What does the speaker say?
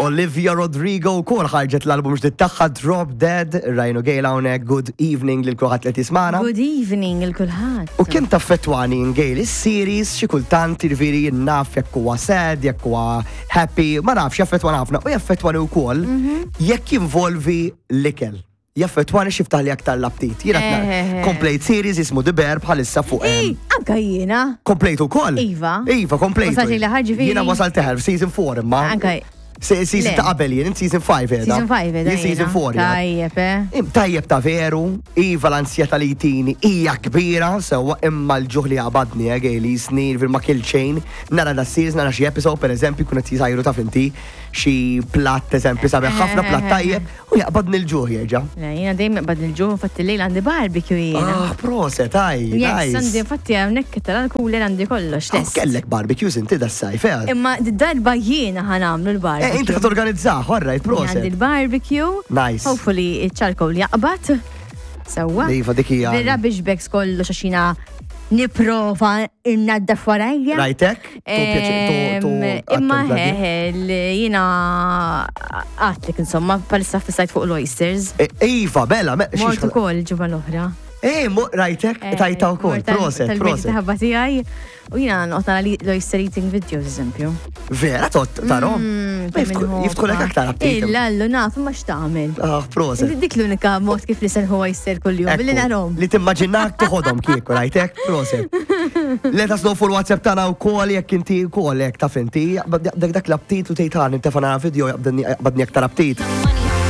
Olivia Rodrigo wkoll ħarġet l-album ġdid tagħha Drop Dead, Ryan u Gail hawnhekk, good evening lil kulħadd li tismana. Good evening lil kulħadd. U kemm taffettwani Gail is-series xi kultant jiġifieri naf jekk huwa sad, jekk huwa happy, ma nafx jaffettwani ħafna u jaffettwani wkoll mhm. jekk jinvolvi l-ikel. Jaffettwani xi ftaħli aktar l-aptit. Jiena eh, eh, eh. komplejt series jismu The Bear bħalissa fuq. Anka jiena. Komplejt ukoll. Iva. Iva, komplejt. Jiena wasal teħel f'season 4 imma. Anka Season ta' qabel jien, season 5 edha. Season 5 edha. Jien season 4. Tajjeb, eh. Tajjeb ta' veru, iva l-ansjeta li jtini hija kbira, sewwa imma l-ġuħ li għabadni, eh, għejli snin fil ma kill chain, nara da series, nara xi episode, per eżempju, kun qed jisajru ta' finti, xi platt eżempju sabiħ ħafna platt tajjeb, U jaqbadni l-ġuħ jerġa'. Le, jiena dejjem jaqbadni l-ġuħ, infatti l-lejl għandi barbecue jiena. Ah, proset, aj, Yes, għandi infatti hawnhekk tal-cooler għandi kollox. Oh, kellek barbecues inti das-sajf, eh? Imma darba jiena ħanamlu l-barbecue. Eh, inti ħad organizzah, all right, proset. Għandi l-barbecue. Nice. Hopefully iċ-charcoal jaqbad. Sewwa. Iva dik hija. Bir-rubbish bags kollox għax jiena niprofa innaddaf warajja. Rajtek? Imma hehe, jina għatlek insomma, palissa fissajt fuq l-oysters. E, iva, bella, me. Mort ukoll ġimgħa l-oħra. E, rajtek, eh, tajta wkoll, proset, proset. Ħabba tiegħi. U jina noqgħod nara l-oyster eating videos, eżempju. Vera, tot tarom? Mm, Jiftħulek aktar aptit. Illa, allu naf, ma x'tagħmel. Ah, proset. Dik l-unika mod kif li senħu oyster kuljum, billi narhom. Li timmaġinak toħodhom kieku, rajtek, proset. Let us know fuq il-WhatsApp tagħna wkoll jekk inti wkoll hekk taf inti, dak dak l-aptit u tgħid ħa nintefa' nara video jaqbadni aktar aptit.